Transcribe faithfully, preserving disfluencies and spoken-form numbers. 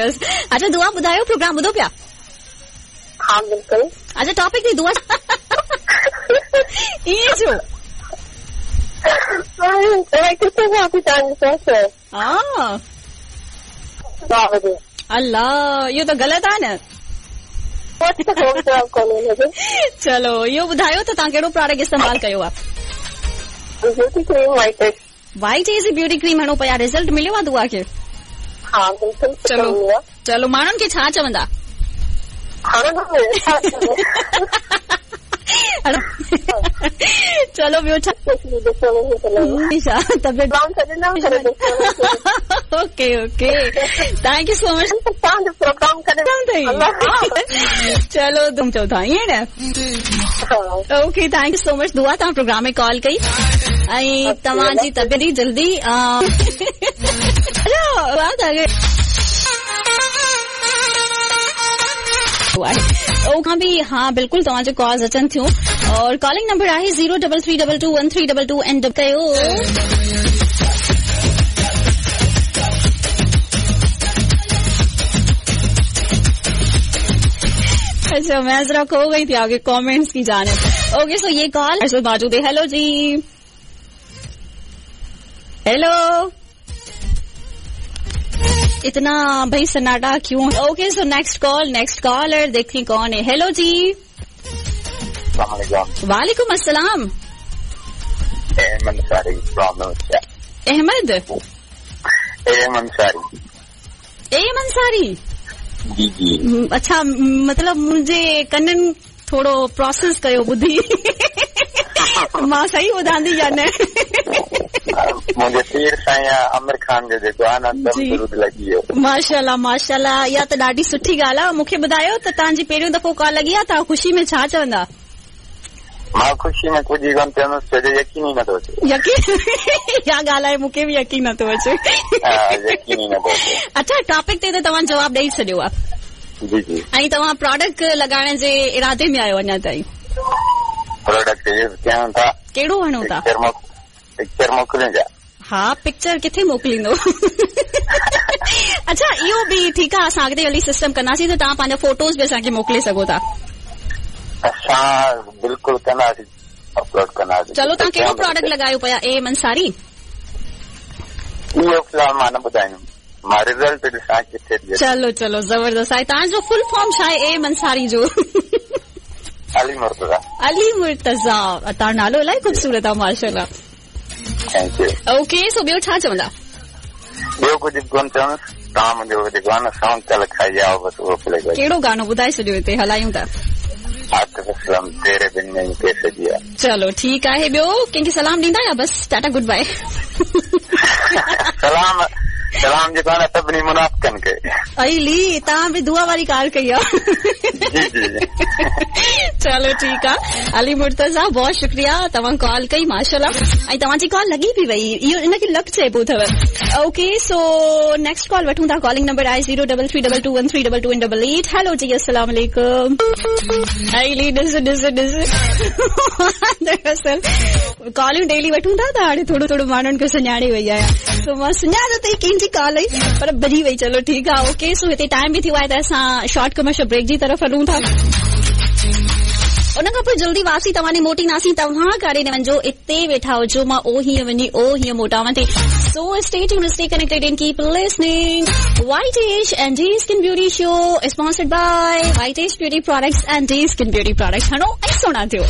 ज़बरदस्त। अच्छा दुआ ॿुधायो, प्रोग्राम ॿुधो पिया? हा बिल्कुलु। अच्छा टॉपिक ते दुआ ईअं छो? हा अल्लाह, इहो त ग़लति आहे न। चलो इहो ॿुधायो त तव्हां कहिड़ो प्रोडक्ट इस्तेमालु कयो आहे? Beauty cream white age. White age beauty cream हणो पिया, रिज़ल्ट मिलियो आहे दुआ खे? हा बिल्कुलु। चलो चलो, माण्हुनि खे छा चवंदा? चलो ॿियो छा? तबियत okay okay, thank you so much. चलो तुम चओ था ईअं न? Okay thank you so much Dua, तव्हां प्रोग्राम में कॉल कई ऐं तव्हांजी तबियत जल्दी आहे भी। हाँ बिल्कुल, तव्हांजो कॉल्स अचनि थियूं और कॉलिंग नंबर आहे zero double three double two one three double two and कयो। अच्छा मैं जरा खो गई थी आगे कमेंट्स की जाने। ओके सो ये कॉल मौजूद है। हेलो जी, हेलो। इतना भाई सन्नाटा क्यों? Okay so next call, next caller देखती कौन है। हेलो जी, वालेकुम अस्सलाम। अहमद एम अंसारी। एम अंसारी जी जी। अच्छा मतलब मुंहिंजे कननि थोरो प्रोसेस कयो ॿुधी, मां सही ॿुधां थी या न? मुंहिंजे पीर साईं आमिर खान जो जेको आहे न, दम दुरूद लॻी वियो। माशाल्लाह माशाल्लाह, इहा त ॾाढी सुठी ॻाल्हि आहे। मूंखे ॿुधायो त तव्हांजी पहिरियों दफ़ो कॉल लॻी आहे, तव्हां ख़ुशी में छा चवंदा? मां ख़ुशी में कुझु ई कोन चवंदुसि, छो जो यकीन ई नथो अचे। यकीन? इहा ॻाल्हि आहे, मूंखे बि यकीन नथो अचे। यकीन ई नथो अचे। अच्छा टॉपिक ते त तव्हां जवाबु ॾेई छॾियो आहे। जी जी। ऐं तव्हां प्रोडक्ट लॻाइण जे इरादे में आहियो अञा ताईं? प्रोडक्ट यूज़ कयूं था। कहिड़ो हणो था? पिक्चर मोकिलियूं छा? हा पिक्चर किथे मोकिलींदो? अच्छा इहो बि ठीकु आहे, असां अॻिते हली सिस्टम कंदासीं त तव्हां पंहिंजा फोटोज़ बि असांखे मोकिले सघो था। असां बिल्कुलु कंदासीं, अपलोड कंदासीं। चलो तव्हां कहिड़ो प्रोडक्ट लॻायो पिया एम अंसारी? इहो फ़िलहाल मां न ॿुधाईंदुमि, मां रिज़ल्ट ॾिसां किथे। चलो चलो ज़बरदस्त आहे। तव्हांजो फुल फॉर्म छा आहे एम अंसारी जो? अली मुर्तज़ा। अली मुर्तज़ा, तव्हां नालो इलाही ख़ूबसूरत आहे माशाल्लाह। Thank you. Okay so ॿियो छा चवंदा? ॿियो कुझु बि कोन चवंदुसि, तव्हां मुंहिंजो जेको आहे न सॉन्ग कल खाई आओ, बसि उहो प्ले कयो। कहिड़ो गानो ॿुधाए छॾियो, हिते हलायूं था। आतिफ असलम तेरे बिन नहीं कैसे जिया। चलो ठीकु आहे। ॿियो कंहिंखे सलाम ॾींदा या बसि टाटा गुड बाय? सलाम सलाम जेको आहे न सभिनी मुनाफ़िकनि खे। अली तव्हां बि दुआ वारी ॻाल्हि कई आहे। जी जी। चलो ठीकु आहे अली मुर्तज़ा, बहुत शुक्रिया तव्हां कॉल कई माशाल्लाह, ऐं तव्हांजी कॉल लॻी बि वई, इहो इन खे लक चइबो अथव। ओके सो नेक्स्ट कॉल वठूं था। कॉलिंग नंबर आहे zero double three double two one three double two and double eight. Hello जी अस्सलाम वालेकुम। अली ॾिस ॾिस ॾिस, दरअसल कॉलिंग डेली वठूं था त हाणे थोरो थोरो माण्हुनि खे सुञाणे वई आहियां, सो मां सुञाणो त कंहिंजी कॉल आई पर भरी वई। चलो ठीकु आहे। ओके सो हिते टाइम बि थियो आहे त असां शॉर्ट कमर्शियल ब्रेक जी तरफ़ हलूं था। उन खां पोइ जल्दी वापसी तव्हां मोटींदासीं। तव्हां काॾे न वञिजो, इते वेठा हुजो, मां ओ हीअं वञी ओ हीअं मोटावां थी। So stay tuned, stay connected and keep listening White Age and D Skin Beauty Show, sponsored by White Age Beauty Products and D Skin Beauty Products. हणो ऐं सोणा थियो।